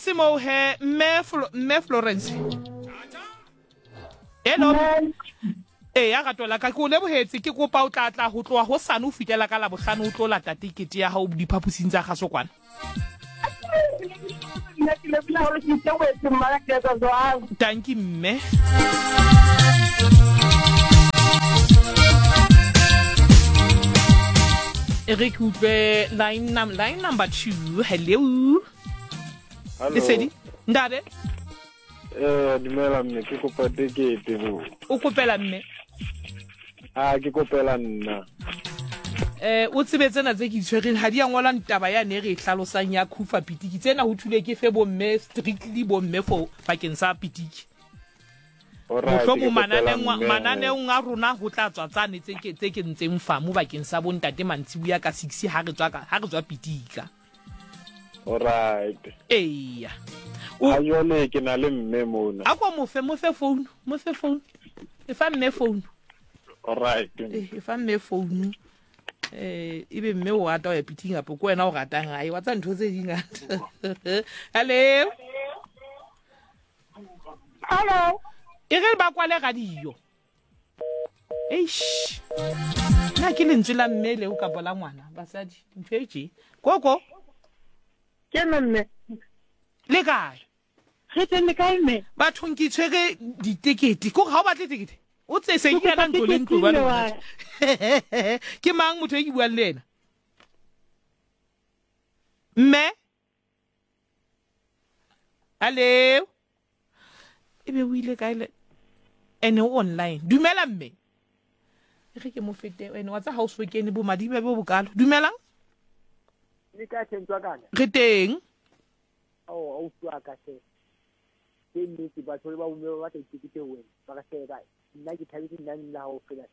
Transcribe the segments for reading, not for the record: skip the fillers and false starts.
se moo he mme mme Florence. Hello. Ee ya rato la ka ke o lebohetse ke kopa o tla tla ho tloha hosane ho fihlela ka Labohlano o tlo lata tekete ya hao diphaposing tsa kgaso kwana. Tanki mme. E re ke utlwe line, num line number 2. Hello. Hello. Lesedi. Ntate. Eh, dumela mme, ke kopa tekete bo. O kopela mme? A ke kopela nna. Eh, o tsebe tsena tse ke itshwereng ha di a ngolwa taba ya ne re e hlalosang ya khufa pitiki. Tsena ho thule ke fe bomme strictly bomme for bakeng sa pitiki. Mohlomong mananeng mananeong a rona ho tla tswa tsane tse ke tse ke ntseng fa mo bakeng sa bontate mantsibuya ka 6 ha re tswa ka ha re tswa pitika. Alright. Eya. A jwale ke na le mme mona. A ko mofe mofe phone, mofe phone. E fa mme phone. Alright. Eh, e fa mme phone. Eh, ebe mme o rata ho ya piting kapo ke wena o ratang hae wa tsa ntho tse di ngata. Hello. Hello. E re ba kwale radio. Eish. Na ke lentswe la mme leo kapo la ngwana basadi ntho e tje. Koko. Ke nna mme. Le kae? Re teng le kae mme? Bathong ke tshwere ditekete. Ko ga o batle tekete? O tse se ke ena ntlo le ntlo ba lona. Ke mang motho e ke buang le ena? Mme? Hello. E be o ile kae le ene o online. Dumela mme. E re ke mo fete ene wa tsa ha o so kene bo madibe bo bokalo. Dumelang. Le kae hle kana? Re teng. Ao ausi wa ka hle. Ke nnete batho le ba bomme ba batla ditekete ho wena. Ba ka hle nna ke thabetse nna nna ha o fela.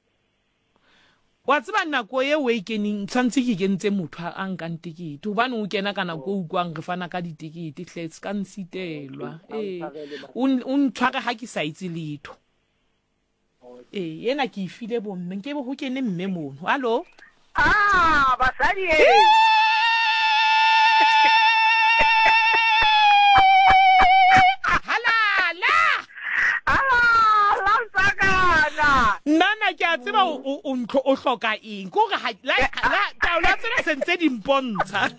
Wa tseba nako eo e keneng tshwanetse ke kentse motho a nkang tekete hobane o kena ka nako e utlwang re fana ka ditekete hle se ka nsitelwa ee o ntshware ha ke sa itse letho ee ena ke e file bomme nkebe ho kene mme mono hallo Ah, basadi e. Halala! Halala msakana. Nna ke a tseba o ntlo o hloka eng. Ke hore ha la la taolo tsena se ntse di mpontsha.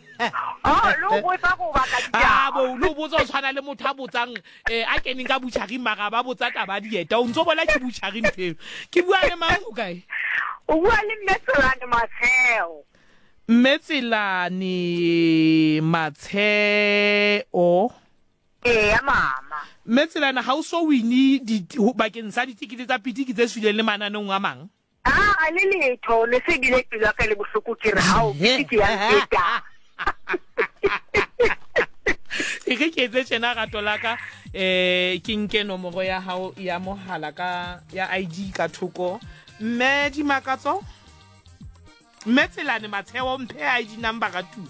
Oh, lo botsa go batla ditaba. Ah, bo lo botsa o tshwana le motho a botsang eh a keneng ka butchery mara ba botsa taba dieta. O ntso bona ke butchery ntho eo. Ke bua le mang o kae? O bua le Mme Tselane Matsheo. Mme Tselane Matsheo. Eya mama. Mme Tselane ha o so wine bakeng sa ditekete tsa pitiki tse tswileng le mananeong a mang? Aa le letho, ne se bile pelo ya ka e le bohloko ke re hao pitiki ya nfeta. E re ke etse tjena rato la ka eh ke nke nomoro ya hao ya mohala ka ya ID ka thoko. Mme Dimakatso, Mme Tselane Matsheo mphe ID number ka tu.